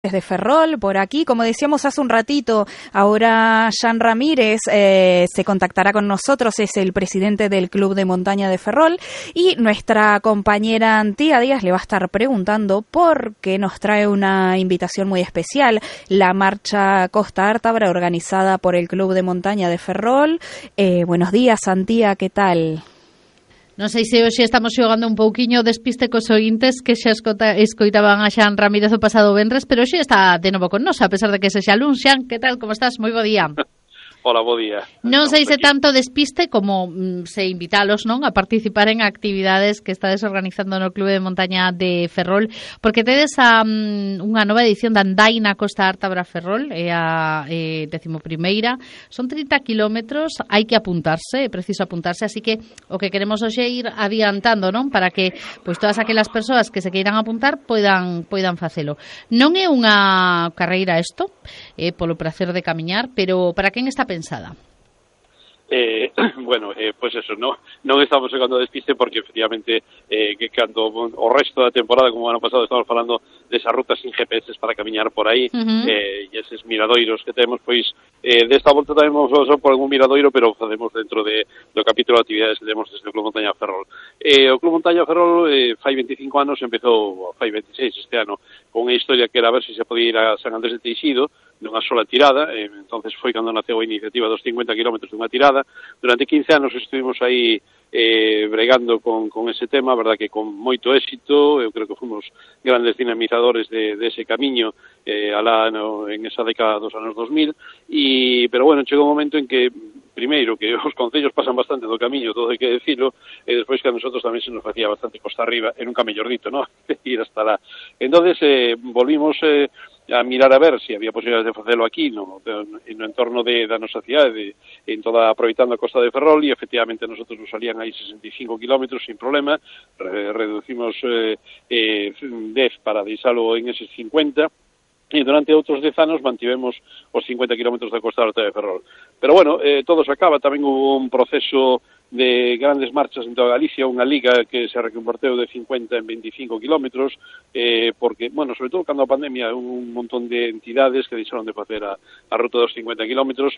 Desde Ferrol, por aquí, como decíamos hace un ratito, ahora Jan Ramírez se contactará con nosotros, es el presidente del Club de Montaña de Ferrol, y nuestra compañera Antía Díaz le va a estar preguntando por qué nos trae una invitación muy especial, la marcha Costa Ártabra organizada por el Club de Montaña de Ferrol. Buenos días, Antía, ¿qué tal? Non sei se hoxe estamos xogando un pouquiño despiste cos ointes que xa escoitaban a Xan Ramírez o pasado venres, pero hoxe está de novo con nos, a pesar de que sexa luns. Xan, que tal, como estás? Moi bo día. Hola, bo día. Non sei se tanto despiste como se invitalos, non, a participar en actividades que estades organizando no Clube de Montaña de Ferrol, porque tedes unha nova edición da Andaina Costa Ártabra Ferrol, é a 11ª, son 30 kilómetros, hai que apuntarse, é preciso apuntarse, así que o que queremos hoxe é ir adiantando, non, para que pois todas aquelas persoas que se queiran apuntar poidan facelo. Non é unha carreira isto, polo prazer de camiñar, pero para quen está pensada? Bueno, pues eso, non estamos chegando a despiste porque efectivamente que cando o resto da temporada, como o ano pasado, estamos falando desas rutas sin GPS para camiñar por aí, e eses miradoiros que temos, pois desta volta tamén vamos a por algún miradoiro, pero facemos dentro do capítulo de actividades que temos desde o Club Montaña Ferrol. O Club Montaña Ferrol fai 25 anos, empezou fai 26 este ano, con unha historia que era a ver se se podía ir a San Andrés de Teixido nunha sola tirada, entonces foi cando naceu a iniciativa dos 50 kilómetros dunha tirada. Durante 15 anos estuvimos aí bregando con ese tema, verdad que con moito éxito. Eu creo que fomos grandes dinamizadores de ese camiño alá en esa década dos anos 2000, pero bueno, chegou un momento en que primeiro, que os concellos pasan bastante do camiño, todo hai que decirlo, e despois que a nosotros tamén se nos facía bastante costa arriba, e nunca mellor dito, ¿no? Ir hasta lá. Entonces volvimos a mirar a ver se había posibilidades de facelo aquí no entorno da nosa cidade, en toda aproveitando a Costa de Ferrol, e efectivamente nosotros nos salían aí 65 kilómetros sin problema, reducimos 10 para deixalo en eses 50, e durante outros 10 anos mantivemos os 50 kilómetros da Costa Ártabra de Ferrol. Pero bueno, todo se acaba, tamén hubo un proceso de grandes marchas en toda Galicia, unha liga que se reconverteu de 50 en 25 kilómetros, porque, bueno, sobre todo cando a pandemia un montón de entidades que deixaron de facer a ruta dos 50 kilómetros,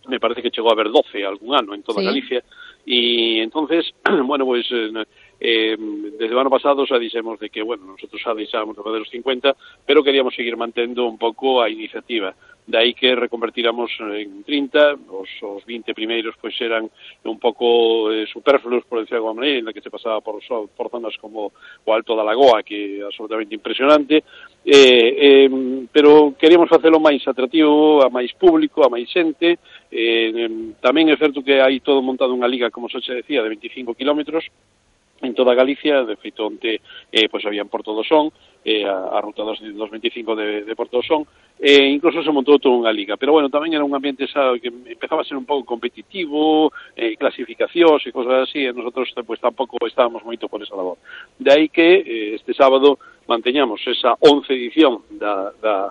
me parece que chegou a haber 12 algún ano en toda Galicia, e entonces, bueno, pues desde o ano pasado xa dixemos de que, bueno, nosotros xa deixábamos de fazer os 50, pero queríamos seguir mantendo un pouco a iniciativa. De aí que reconvertiramos en 30, os 20 primeiros pois eran un pouco superfluos, por decir alguma maneira, en la que se pasaba por zonas como o Alto da Lagoa, que é absolutamente impresionante, pero queríamos facelo máis atractivo, a máis público, a máis xente. Tamén é certo que hai todo montado unha liga, como se decía, de 25 kilómetros, en toda Galicia. De feito, onte pois había en Porto do Son, a ruta dos 25 de Porto do Son, incluso se montou toda unha liga, pero bueno, tamén era un ambiente que empezaba a ser un pouco competitivo, clasificacións e cosas así, e nosotros pues tampouco estábamos moito por esa labor. De aí que este sábado manteñamos esa 11 edición da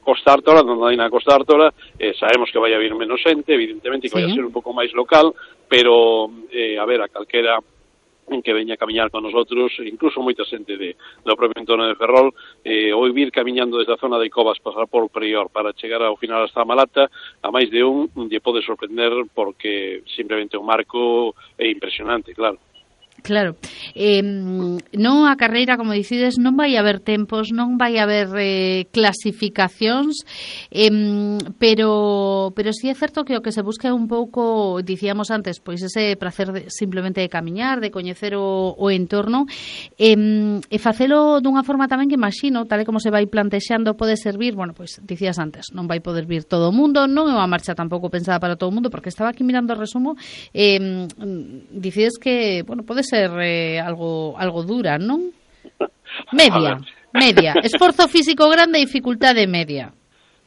Costa Ártabra, da Andaina Costa Ártabra. Sabemos que vai haber menos xente, evidentemente que vai a ser un pouco máis local, pero a ver, a calquera en que veña a camiñar con nosotros, incluso moita xente do propio entorno de Ferrol, ou vir camiñando desde a zona de Covas, pasar por Prior para chegar ao final hasta a Malata, a máis de lle pode sorprender, porque simplemente o marco é impresionante, claro. Claro, non a carreira, como dicides, non vai haber tempos, non vai haber clasificacións, pero si é certo que o que se busca é un pouco, dicíamos antes, pois ese prazer simplemente de camiñar, de coñecer o entorno, e facelo dunha forma tamén que imagino, tal e como se vai plantexando, pode servir, bueno, pois dicías antes, non vai poder vir todo o mundo, non é unha marcha tampouco pensada para todo o mundo, porque estaba aquí mirando o resumo, dicides que, bueno, pode ser algo dura, non? Media. Esforzo físico grande e dificultade media.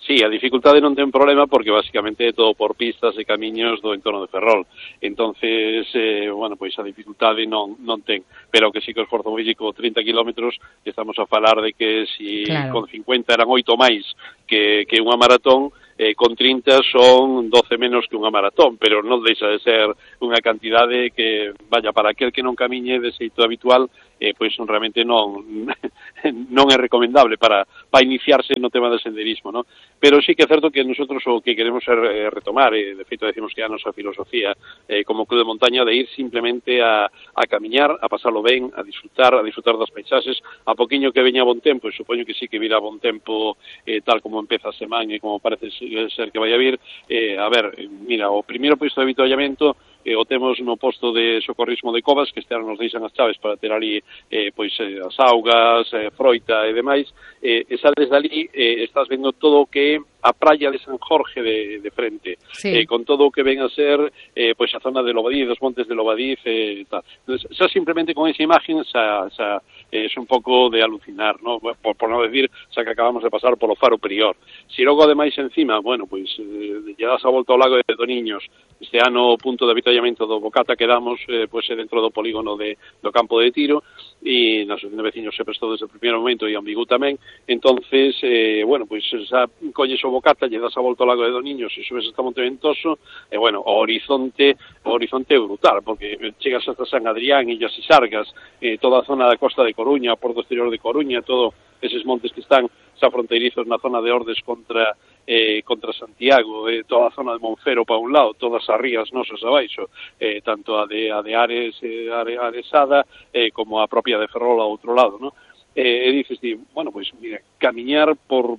Sí, a dificultade non ten problema porque basicamente é todo por pistas e camiños do entorno de Ferrol. Entonces, bueno, pois a dificultade non ten, pero que sí que o esforzo físico 30 kilómetros, estamos a falar de que si con 50 eran 8 máis que unha maratón, con 30 son 12 menos que unha maratón, pero non deixa de ser unha cantidade que, vaya, para aquel que non camiñe de xeito habitual, pois realmente non non é recomendable para iniciarse no tema do senderismo, ¿no? Pero sí que é certo que nosotros o que queremos é retomar, de feito decimos que é a nosa filosofía como club de montaña de ir simplemente a camiñar, a pasarlo ben, a disfrutar das paisaxes, a poquinho que veña bon tempo, e supoño que sí que virá bon tempo tal como empeza a semana e como parece ser que vai a vir. A ver, mira, o primeiro posto de avituallamento o temos no posto de socorrismo de Covas, que este ano nos deixan as chaves para ter ali as augas, froita e demais, e sales dali, estás vendo todo o que a praia de San Jorge de frente, sí. Con todo o que ven a ser a zona de Lobadiz, dos montes de Lobadiz, tal. Entonces, xa simplemente con esa imagen xa es un pouco de alucinar, ¿no? Por non decir, xa que acabamos de pasar polo Faro Prior. Si logo ademais encima, bueno, pois lle das a volta ao lago de Doniños. Este ano o punto de avituallamento do Bocata que damos dentro do polígono do campo de tiro, e na asociación de veciños se prestou desde o primeiro momento e Ambigu tamén. Entonces, xa colles o Bocata, lle das a volta ao lago de Doniños e subes hasta Monte Ventoso, e o horizonte é brutal, porque chegas hasta San Adrián, Illas e Sargas, toda a zona da costa de Coruña, Porto Exterior de Coruña, todo eses montes que están xa fronteirizos na zona de Ordes contra Santiago, toda a zona de Monfero para un lado, todas as rías nosas abaixo, tanto a de Ares, Aresada, como a propia de Ferrol ao outro lado, ¿no? E dices, bueno, pois, mira, camiñar por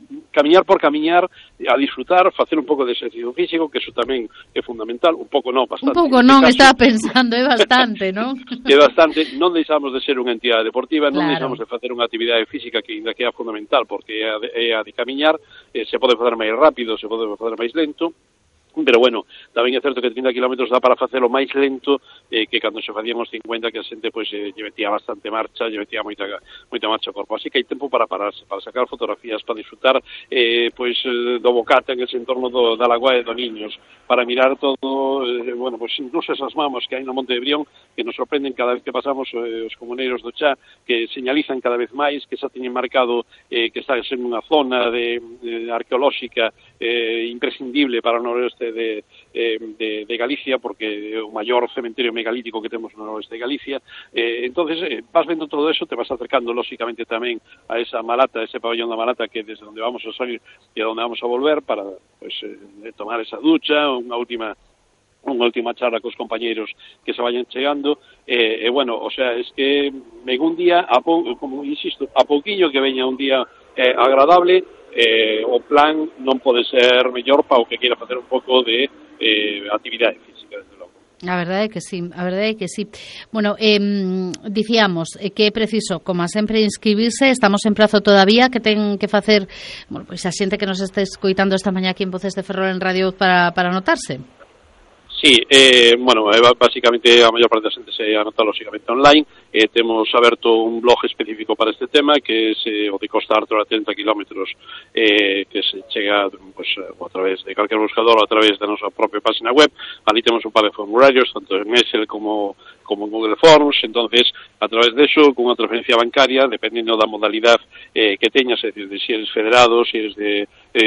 camiñar, a disfrutar, facer un pouco de exercicio físico, que eso tamén é fundamental, un pouco non, bastante. Un pouco non, estaba pensando, é bastante, non? É bastante, non deixamos de ser unha entidade deportiva, non deixamos de facer unha actividade física que ainda que é fundamental, porque é a de camiñar, se pode facer máis rápido, se pode facer máis lento, pero bueno, tamén é certo que 30 kilómetros dá para facelo máis lento que cando se facían os 50, que a xente lle metía bastante marcha, lle metía moita marcha ao corpo. Así que hai tempo para pararse, para sacar fotografías, para disfrutar do Bocata en ese entorno da Lagoa de Doniños, para mirar todo, incluso esas mamos que hai no Monte de Brión, que nos sorprenden cada vez que pasamos os comuneiros do Chá, que señalizan cada vez máis, que xa teñen marcado que está en unha zona arqueolóxica imprescindible para o noroeste de Galicia, porque é o maior cementerio megalítico que temos no noroeste de Galicia. Entonces vas vendo todo eso, te vas acercando lógicamente tamén a esa Malata, ese pabellón da Malata, que desde onde vamos a salir e onde vamos a volver para tomar esa ducha, unha última charla cos compañeiros que se vayan chegando, es que un día, como insisto, a pouquiño que veña un día agradable, o plan non pode ser mellor para o que queira facer un pouco de actividade física, desde logo. A verdade é que sí. Bueno, dicíamos que é preciso, como sempre, inscribirse. Estamos en prazo todavía, que ten que facer, pois a xente que nos está escoitando esta mañá aquí en Voces de Ferrol en Radio para anotarse. Sí, básicamente a maior parte da xente se anota lógicamente online. Temos aberto un blog específico para este tema, que é o de Costa Artura, 30 kilómetros, que se chega a través de calquer buscador ou a través da nosa propia página web. Ali temos un par de formularios, tanto en Excel como en Google Forms. Entonces, a través de eso, con unha transferencia bancaria, dependendo da modalidade que teñas, é dicir, de si eres federado, si eres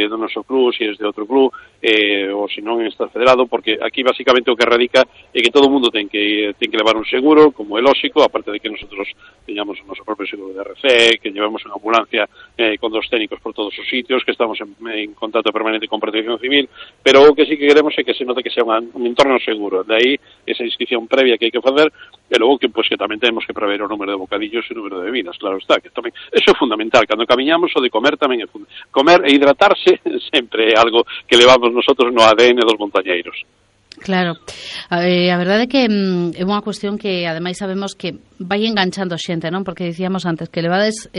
do noso club, si eres de outro club, ou se non estás federado, porque aquí basicamente o que radica é que todo o mundo ten que levar un seguro, como é lógico, aparte de que nosotros teñamos o noso propio seguro de RC, que llevamos unha ambulancia con dos técnicos por todos os sitios, que estamos en contacto permanente con Protección Civil, pero o que sí que queremos é que se note que sea un entorno seguro. De aí esa inscripción previa que hai que facer, e logo que tamén temos que prever o número de bocadillos e o número de bebidas, claro está, que tamén eso é fundamental. Cando camiñamos, o de comer tamén é fundamental. Comer e hidratarse sempre é algo que levamos nosotros no ADN dos montañeiros. Claro, a verdade é que é unha cuestión que ademais sabemos que vai enganchando xente, non? Porque dicíamos antes que levades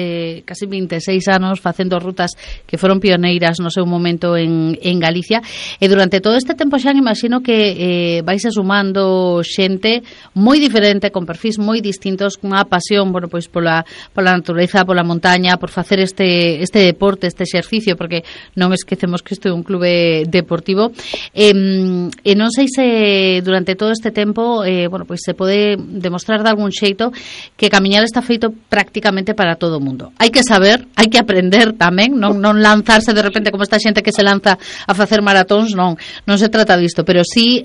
casi 26 anos facendo rutas que foron pioneiras no seu momento en Galicia, e durante todo este tempo xa imagino que vais sumando xente moi diferente, con perfis moi distintos, cunha pasión, pola natureza, pola montaña, por facer este deporte, este exercicio, porque non esquecemos que isto é un clube deportivo, e non sei se durante todo este tempo se pode demostrar de algún xeito que camiñar está feito prácticamente para todo o mundo. Hai que saber, hai que aprender tamén, non lanzarse de repente como esta xente que se lanza a facer maratóns, non se trata disto, pero sí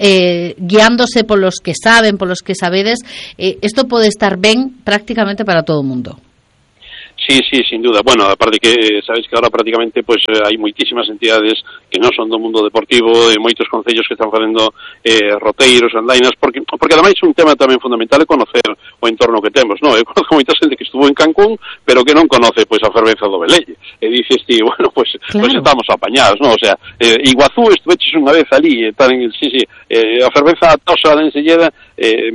guiándose polos que saben, polos que sabedes, isto pode estar ben prácticamente para todo o mundo. Sí, sin duda. Bueno, aparte que sabéis que ahora prácticamente pues hai moitísimas entidades que non son do mundo deportivo, e moitos concellos que están facendo roteiros, andainas, porque ademais un tema tamén fundamental é conocer o entorno que temos, non? Eu conozco moita xente que estuvo en Cancún, pero que non conoce pois a fervenza do Velelle. E dices ti, bueno, pues estamos apañados, non? O sea, Iguazú estuveches unha vez ali, a fervenza tosa de Enselleda,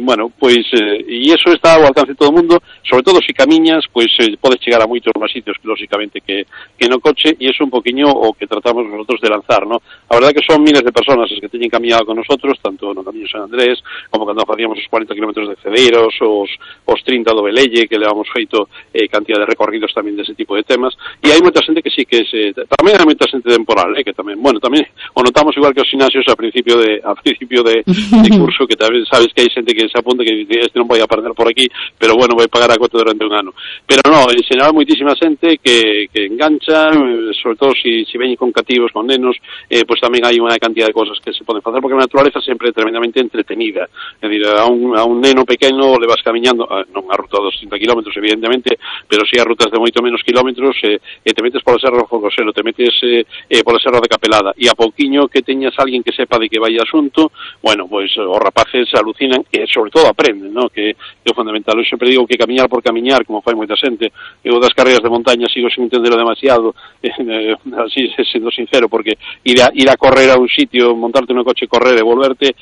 bueno, pois e iso está ao alcance de todo o mundo, sobre todo se camiñas, pois podes chegar a moitos máis sitios que lógicamente que no coche, e iso un poquinho o que tratamos nosotros de lanzar, ¿no? A verdade que son miles de personas as que teñen camiñado con nosotros, tanto no Camiño San Andrés, como cando facíamos os 40 kilómetros de Cedeiros, os 30 do Velelle, que levamos feito cantidad de recorridos tamén dese tipo de temas, e hai moita xente que sí que tamén hai moita xente temporal, que tamén, bueno, tamén o notamos igual que os gimnasios a principio de curso, que tamén sabes que hai xente que se apunta que dice, este non vai a aprender por aquí, pero bueno, vai pagar a cuota durante un ano. Pero no, en xeral moitísima xente que engancha, sobre todo se veñen con cativos, con nenos, pues tamén hai unha cantidad de cosas que se poden facer, porque a naturaleza sempre é tremendamente entretenida. É dicir, a un neno pequeno le vas camiñando, non a ruta dos 30 kilómetros, evidentemente, pero si a rutas de moito menos kilómetros, e te metes pola Serra do Fogoselo, te metes pola Serra de Capelada, e a pouquiño que teñas alguén que sepa de que vai asunto, bueno, pois os rapaces alucinan e sobre todo aprenden, ¿no? Que é fundamental. Eu sempre digo que camiñar por camiñar, como fai moita xente, eu das carreras de montaña sigo sin entenderlo demasiado, así sendo sincero, porque ir a correr a un sitio, montarte no coche, correr e volverte,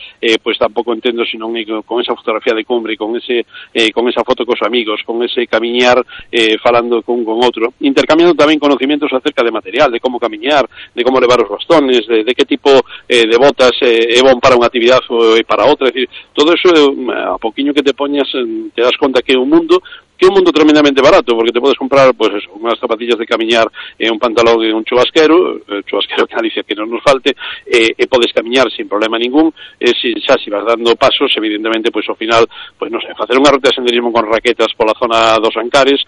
pues tampouco entendo se non con esa fotografía de cumbre, con esa foto cos amigos, con ese camiñar falando con outro, intercambiando tamén conocimientos acerca de material, de como camiñar, de como levar os bastones, de que tipo de botas é bon para unha actividade ou para outra, é dicir, todo eso a poquinho que te poñas te das conta que é un mundo tremendamente barato, porque te podes comprar pues eso, unhas zapatillas de camiñar e un pantalón e un chubasquero que Galicia que non nos falte, e podes camiñar sin problema ningún, se vas dando pasos, evidentemente, pois ao final, pois non sei, facer unha ruta de senderismo con raquetas pola zona dos Ancares,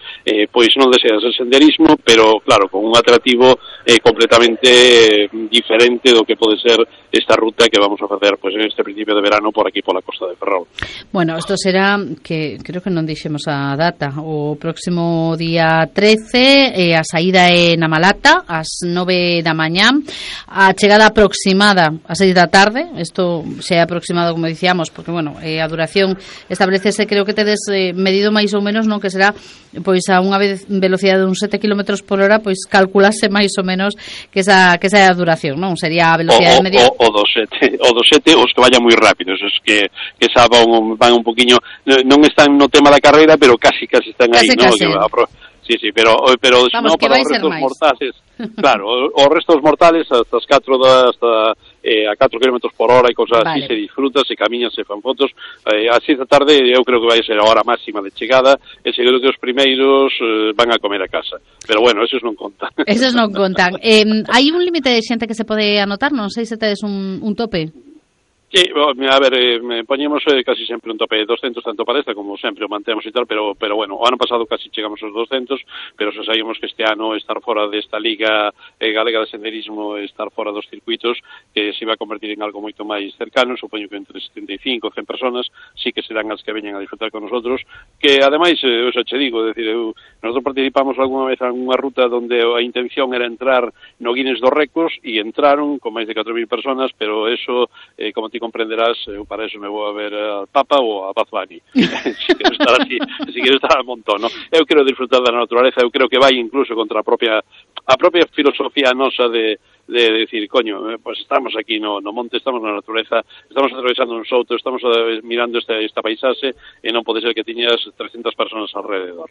pois non deseas el senderismo, pero claro, con un atractivo completamente diferente do que pode ser esta ruta que vamos a facer pois en este principio de verano por aquí pola costa de Ferrol. Bueno, isto será, que creo que non dixemos a data, o próximo día 13, a saída é na Malata ás 9 da mañá, a chegada aproximada ás 6 da tarde. Isto se é aproximado, como dicíamos, porque bueno, a duración establecese, creo que tedes medido máis ou menos, non, que será pois a unha velocidade de uns 7 km por hora, pois calculase máis ou menos que esa é a duración, non? Sería a velocidade media. O dos 7, os que vayan moi rápidos, os que xa van un poquinho, non están no tema da carreira, pero casi están aí, ¿no? Sí, pero vamos, no, para os restos mortales, claro, os restos mortales hasta as 4 a 4 km por hora e cosas así, se disfruta, se camiña, se fan fotos. A 6 da tarde eu creo que vai ser a hora máxima de chegada, e seguro que os primeiros van a comer a casa, pero bueno, esos non contan. Esos non contan. Hai un límite de xente que se pode anotar, non sei se tedes un tope. Sí, a ver, poñemos casi sempre un tope de 200, tanto para esta como sempre o mantemos e tal, pero bueno, o ano pasado casi chegamos aos 200, pero se saímos que este ano estar fora desta Liga Galega de Senderismo, estar fora dos circuitos, que se iba a convertir en algo moito máis cercano, supoño que entre 75 e 100 personas, sí que serán as que veñan a disfrutar con nosotros, que ademais, eu xa che digo, decir, nosotros participamos algunha vez en unha ruta onde a intención era entrar no Guinness dos Récords, e entraron con máis de 4.000 personas, pero eso, como ti comprenderás, eu para eso me vou a ver al Papa ou a Bad Bunny. Si quero estar al montón, ¿no? Eu quero disfrutar da naturaleza, eu creo que vai incluso contra a propia filosofía nosa de decir, coño, pues estamos aquí no monte, estamos na natureza, estamos atravesando un souto, estamos mirando esta paisaxe, e non pode ser que tiñas 300 personas alrededor.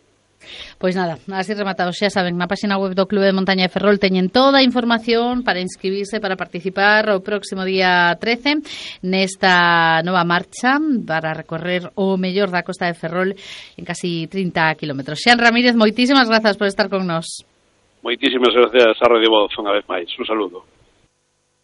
Pois nada, así rematados, xa saben, na página web do Clube de Montaña de Ferrol teñen toda a información para inscribirse, para participar o próximo día 13 nesta nova marcha para recorrer o mellor da costa de Ferrol en casi 30 kilómetros. Xan Ramírez, moitísimas grazas por estar con nós. Moitísimas gracias a Radio Voz unha vez máis. Un saludo.